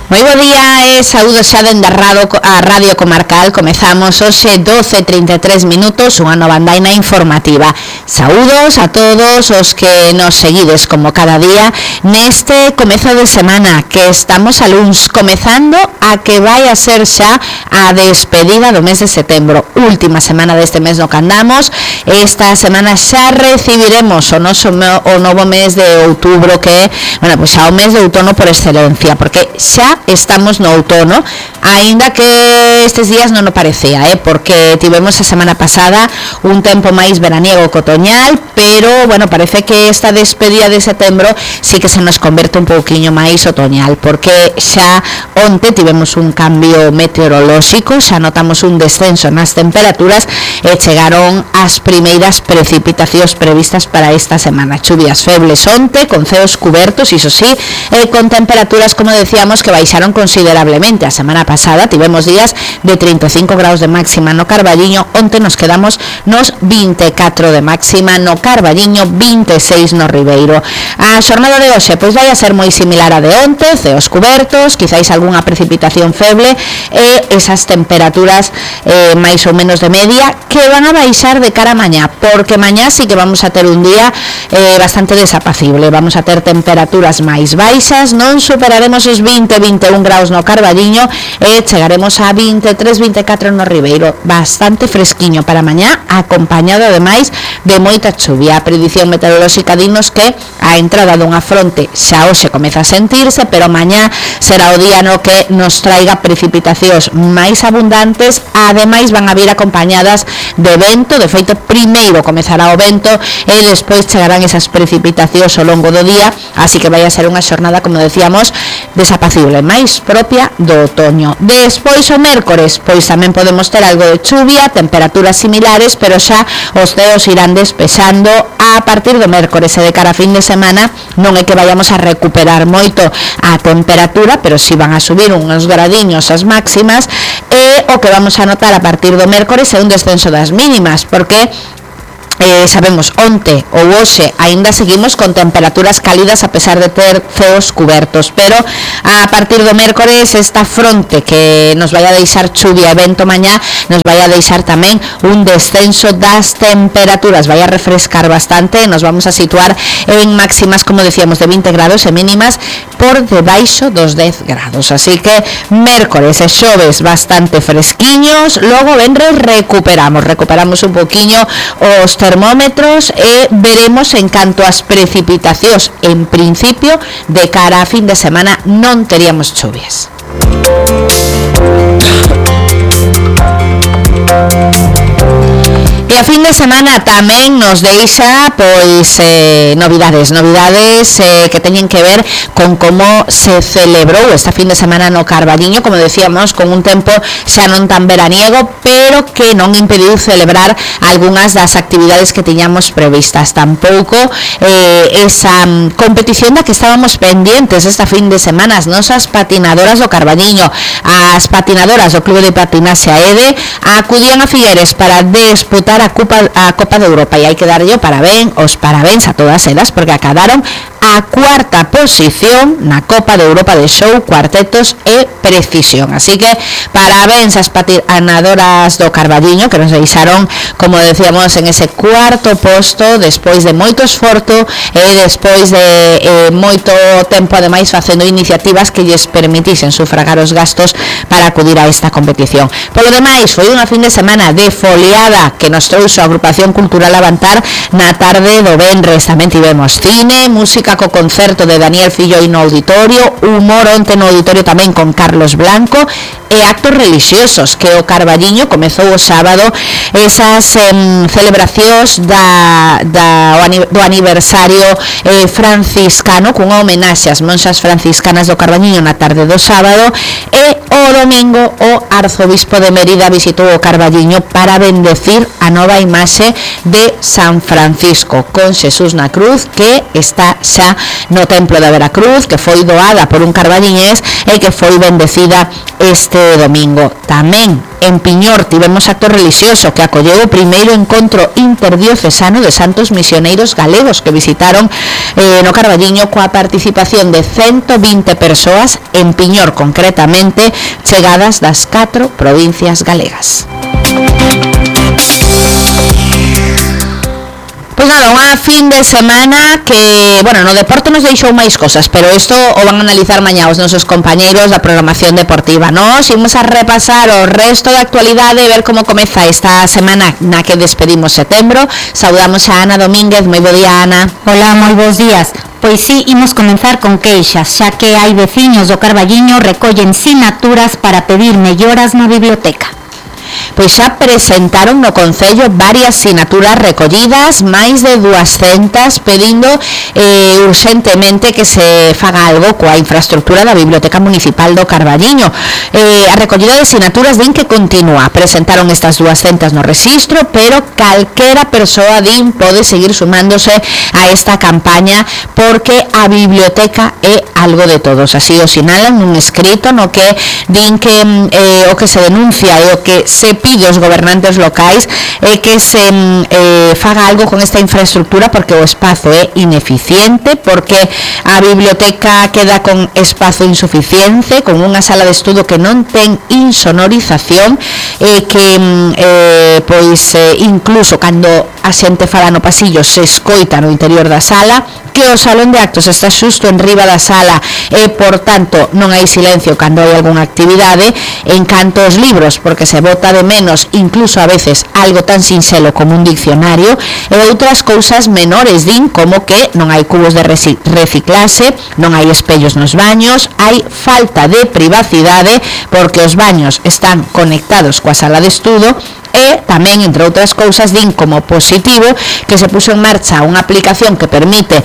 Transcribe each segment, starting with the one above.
Moi bo día e saúdo xa dende a Radio Comarcal. Comezamos hoxe 12:33 minutos unha nova andaina informativa. Saúdos a todos os que nos seguides como cada día neste comezo de semana que estamos a luns, comezando a que vai a ser xa a despedida do mes de setembro, última semana deste mes no que andamos. Esta semana xa recibiremos o novo mes de outubro, que, bueno, pois xa o mes de outono por excelencia, porque xa estamos no outono, aínda que estes días non o parecía, porque tivemos a semana pasada un tempo máis veraniego que otoñal, pero, bueno, parece que esta despedida de setembro sí que se nos converte un pouquiño máis otoñal, porque xa onte tivemos un cambio meteorolóxico, xa notamos un descenso nas temperaturas e chegaron as primeiras precipitacións previstas para esta semana. Chuvias febles onte, con ceos cubertos, iso sí, con temperaturas, como decíamos, que baixaron considerablemente. A semana pasada tivemos días de 35 graus de máxima no Carballiño, onte nos quedamos nos 24 de máxima no Carballiño, 26 no Ribeiro. A xornada de hoxe pois vai a ser moi similar a de onte, ceos cubertos, quizáis algunha precipitación feble e esas temperaturas máis ou menos de media que van a baixar de cara a mañá, porque mañá sí que vamos a ter un día bastante desapacible. Vamos a ter temperaturas máis baixas, non superaremos os 20-21 graus no Carballiño e chegaremos a 23-24 no Ribeiro. Bastante fresquiño para mañá, acompañado ademais de moita chuvia. A predición meteorolóxica dinos que a entrada dunha fronte xa hoxe comeza a sentirse, pero mañá será o día no que nos traiga precipitacións máis abundantes. Ademais van a vir acompañadas de vento. De feito, primeiro comezará o vento e despois chegarán esas precipitacións ao longo do día, así que vai a ser unha xornada, como decíamos, desapacible, máis propia do otoño. Despois o mércores, pois tamén podemos ter algo de chuvia, temperaturas similares, pero xa os ceos irán despexando a partir do mércores, e de cara a fin de semana non é que vayamos a recuperar moito a temperatura, pero si van a subir uns gradiños as máximas, e o que vamos a notar a partir do mércores é un descenso das mínimas, porque sabemos, onte ou hoxe aínda seguimos con temperaturas cálidas a pesar de ter ceos cubertos, pero a partir do mércores esta fronte que nos vai a deixar chuvia e vento mañá nos vai a deixar tamén un descenso das temperaturas, vai a refrescar bastante, nos vamos a situar en máximas, como decíamos, de 20 grados e mínimas por debaixo dos 10 grados, así que mércores e xoves bastante fresquiños. Logo venres recuperamos un poquinho os termómetros e veremos en canto ás precipitacións. En principio, de cara a fin de semana non teríamos chuvias. E a fin de semana tamén nos deixa pois novidades que teñen que ver con como se celebrou esta fin de semana no Carballiño, como decíamos, con un tempo xa non tan veraniego, pero que non impediu celebrar algunhas das actividades que tiñamos previstas. Tampouco esa competición da que estábamos pendientes esta fin de semana, as nosas patinadoras do Carballiño, as patinadoras do Clube de Patinaxe AEDE, acudían a Figueres para disputar a Copa de Europa, e hai que darlle os parabéns a todas elas, porque acadaron a cuarta posición na Copa de Europa de Show, Cuartetos e Precisión. Así que parabéns ás patinadoras do Carballiño, que nos deixaron, como decíamos, en ese cuarto posto despois de moito esforzo e despois de moito tempo, ademais, facendo iniciativas que lles permitisen sufragar os gastos para acudir a esta competición. Polo demais, foi unha fin de semana de foliada que nos trouxo a Agrupación Cultural Avantar na tarde do venres. Tamén tivemos cine, música co concerto de Daniel Filloy no auditorio, humor onte no auditorio tamén con Carlos Blanco, e actos religiosos, que o Carballiño comezou o sábado esas celebracións do aniversario franciscano, cunha homenaxe ás monxas franciscanas do Carballiño na tarde do sábado, e o domingo o arzobispo de Mérida visitou o Carballiño para bendecir a nova imaxe de San Francisco con Xesús na cruz, que está xa no templo da Veracruz, que foi doada por un carballiñés e que foi bendecida este este domingo. Tamén en Piñor tivemos acto religioso que acolleu o primeiro encontro interdiocesano de santos misioneiros galegos que visitaron no Carballiño coa participación de 120 persoas en Piñor, concretamente chegadas das 4 provincias galegas. Pois nada, unha fin de semana que, bueno, no deporte nos deixou máis cosas, pero isto o van a analizar mañá os nosos compañeiros da programación deportiva. Nos imos a repasar o resto da actualidade e ver como comeza esta semana na que despedimos setembro. Saudamos a Ana Domínguez. Moi bo día, Ana. Hola, moi bons días. Pois sí, imos comenzar con queixas, xa que hai veciños do Carballiño recollen sinaturas para pedir melloras na biblioteca. Pois xa presentaron no Concello varias sinaturas recollidas, máis de 200, pedindo urxentemente que se faga algo coa infraestructura da Biblioteca Municipal do Carballiño. A recollida de sinaturas din que continúa. Presentaron estas 200 no rexistro, pero calquera persoa din pode seguir sumándose a esta campaña porque a biblioteca é algo de todos. Así o sinalan nun escrito no que din que o que se denuncia e o que se pide aos gobernantes locais é que se faga algo con esta infraestructura porque o espazo é ineficiente, porque a biblioteca queda con espazo insuficiente, con unha sala de estudo que non ten insonorización e que incluso cando a xente fala no pasillo se escoita no interior da sala, que o salón de actos está xusto en riba da sala e, por tanto, non hai silencio cando hai algunha actividade. En canto aos libros, porque se bota de menos incluso a veces algo tan sinxelo como un diccionario e outras cousas menores, din, como que non hai cubos de reciclase, non hai espellos nos baños, hai falta de privacidade porque os baños están conectados coa sala de estudo e tamén, entre outras cousas, din como positivo que se puxo en marcha unha aplicación que permite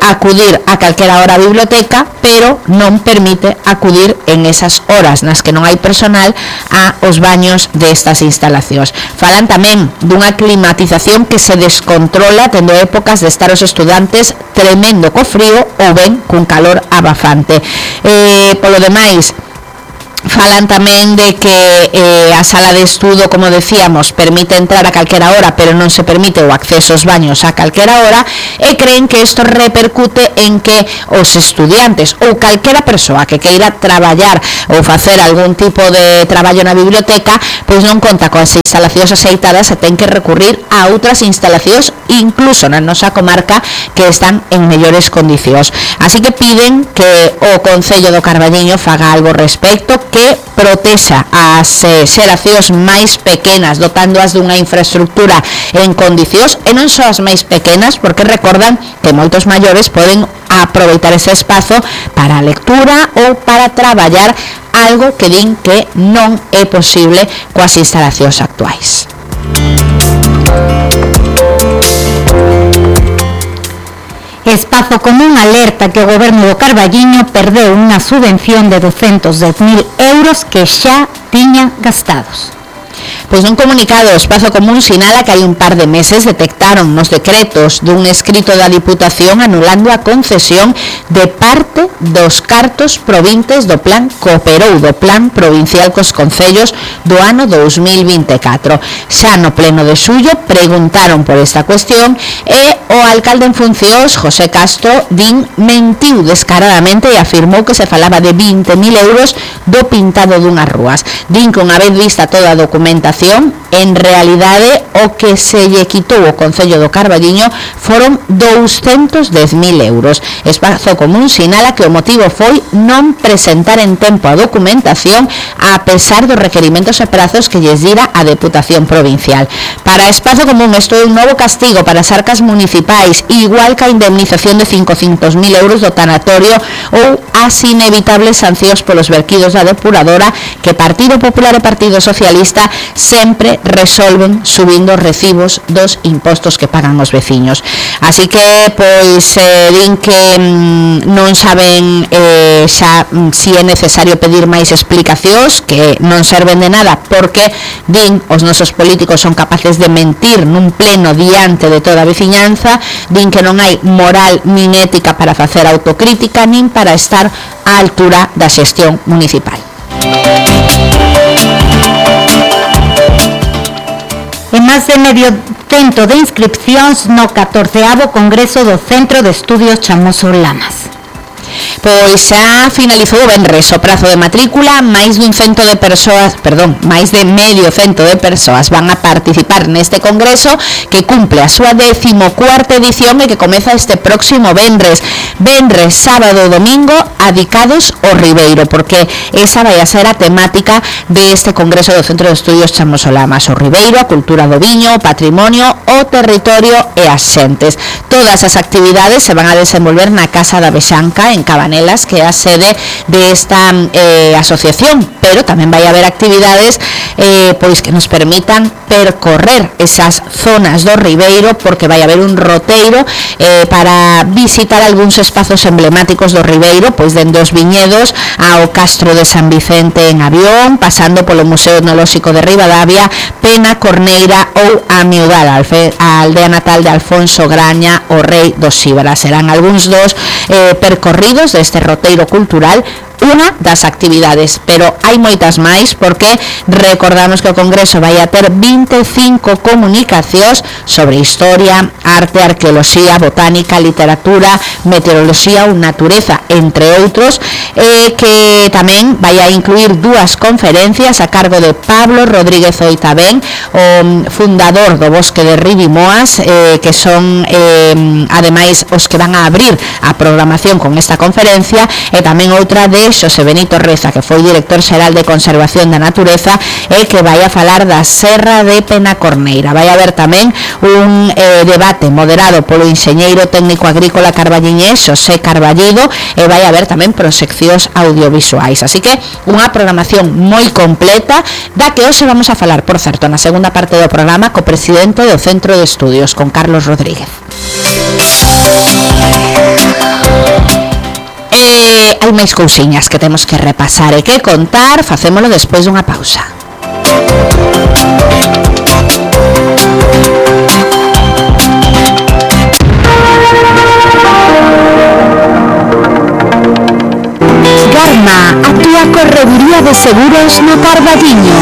acudir a calquera hora á biblioteca, pero non permite acudir en esas horas nas que non hai personal aos baños destas instalacións. Falan tamén dunha climatización que se descontrola tendo épocas de estar os estudantes tremendo co frío ou ben cun calor abafante. Polo demais, falan tamén de que a sala de estudo, como decíamos, permite entrar a calquera hora, pero non se permite o acceso aos baños a calquera hora, e creen que isto repercute en que os estudiantes ou calquera persoa que queira traballar ou facer algún tipo de traballo na biblioteca, pois non conta coas instalacións aceitadas e ten que recurrir a outras instalacións, incluso na nosa comarca, que están en mellores condicións. Así que piden que o Concello do Carballiño faga algo respecto, que protexa as xeracións máis pequenas, dotándoas dunha infraestructura en condicións, e non só as máis pequenas, porque recordan que moitos maiores poden aproveitar ese espazo para a lectura ou para traballar, algo que din que non é posible coas instalacións actuais. Espazo Común alerta que o goberno do Carballiño perdeu unha subvención de 210.000 euros que xa tiña gastados. Pois nun comunicado, o Espazo Común sinala que hai un par de meses detectaron nos decretos dun escrito da Diputación anulando a concesión de parte dos cartos provintes do Plan Cooperou, do Plan Provincial cos Concellos do ano 2024. Xa no pleno de xullo preguntaron por esta cuestión e o alcalde en funcións, José Castro, din mentiu descaradamente e afirmou que se falaba de 20.000 euros do pintado dunhas rúas. Din que unha vez vista toda a documentación, en realidade o que se lle quitou o Concello do Carballiño foron 210.000 euros. Espazo Común sinala que o motivo foi non presentar en tempo a documentación a pesar dos requerimentos e prazos que lles dira a Deputación Provincial. Para Espazo Común isto é un novo castigo para as arcas municipais, igual que a indemnización de 500.000 euros do tanatorio ou as inevitables sancións polos verquidos da depuradora que Partido Popular e Partido Socialista sempre resolven subindo os recibos dos impostos que pagan os veciños. Así que, pois, din que non saben xa si é necesario pedir máis explicacións, que non serven de nada, porque, din, os nosos políticos son capaces de mentir nun pleno diante de toda a veciñanza, din que non hai moral nin ética para facer autocrítica, nin para estar á altura da xestión municipal. E máis de medio cento de inscripcións no 14º Congreso do Centro de Estudios Chamoso Lamas. Pois xa finalizou o venres o prazo de matrícula, máis de medio cento de persoas van a participar neste congreso que cumple a súa 14ª edición e que comeza este próximo venres, sábado e domingo adicados ao Ribeiro, porque esa vai a ser a temática deste congreso do Centro de Estudios Chamoso Lamas, o Ribeiro, a cultura do viño, o patrimonio, o territorio e as xentes. Todas as actividades se van a desenvolver na Casa da Bexanca en Cabanelas, que é a sede desta asociación, pero tamén vai haber actividades pois que nos permitan percorrer esas zonas do Ribeiro, porque vai haber un roteiro para visitar algúns espazos emblemáticos do Ribeiro, pois dende os viñedos ao Castro de San Vicente en avión, pasando polo Museo Etnolóxico de Ribadavia, Pena, Corneira ou a Miudal, a aldea natal de Alfonso Graña, o rei dos Xíbaras. Serán algúns dos percorridos deste roteiro cultural, unha das actividades, pero hai moitas máis, porque recordamos que o Congreso vai a ter 25 comunicacións sobre historia, arte, arqueoloxía, botánica, literatura, meteoroloxía ou natureza, entre outros, que tamén vai a incluir 2 conferencias a cargo de Pablo Rodríguez Oitabén, o fundador do Bosque de Ribimoas, que son ademais os que van a abrir a programación con esta conferencia, e tamén outra de Xosé Benito Reza, que foi director xeral de Conservación da Natureza e que vai a falar da Serra de Penacorneira. Vai haber tamén un debate moderado polo enxeñeiro técnico agrícola carballiñés Xosé Carballido, e vai haber tamén proxeccións audiovisuais. Así que unha programación moi completa, da que hoxe vamos a falar, por certo, na segunda parte do programa co presidente do Centro de Estudios, con Carlos Rodríguez. Hai máis cousiñas que temos que repasar e que contar, facémolo despois dunha pausa. Garma, a túa correduría de seguros no Carballiño.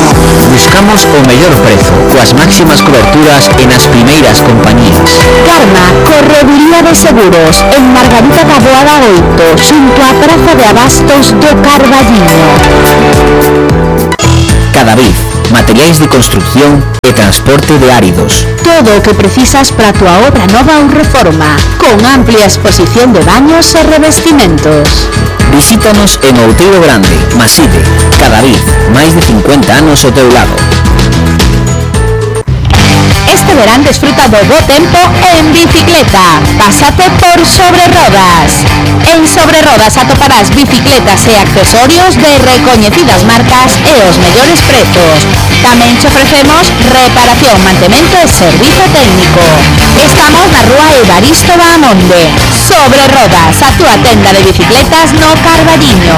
Buscamos o mellor prezo, coas máximas coberturas e nas primeiras compañías. Garma, correduría de seguros, en Margarita da Boada 8, xunto á Praza de Abastos do Carballiño. Cadavid, materiais de construcción e transporte de áridos. Todo o que precisas para a túa obra nova ou reforma, con amplia exposición de baños e revestimentos. Visítanos en Outeiro Grande, Maside, Cadavid, máis de 50 anos ao teu lado. Este verán desfruta do bo tempo en bicicleta. Pásate por Sobre Rodas. En Sobre Rodas atoparás bicicletas e accesorios de recoñecidas marcas e os mellores prezos. Tamén te ofrecemos reparación, mantemento e servizo técnico. Estamos na rúa Evaristo Bahamonde. Sobre Rodas, a túa tenda de bicicletas no Carballiño.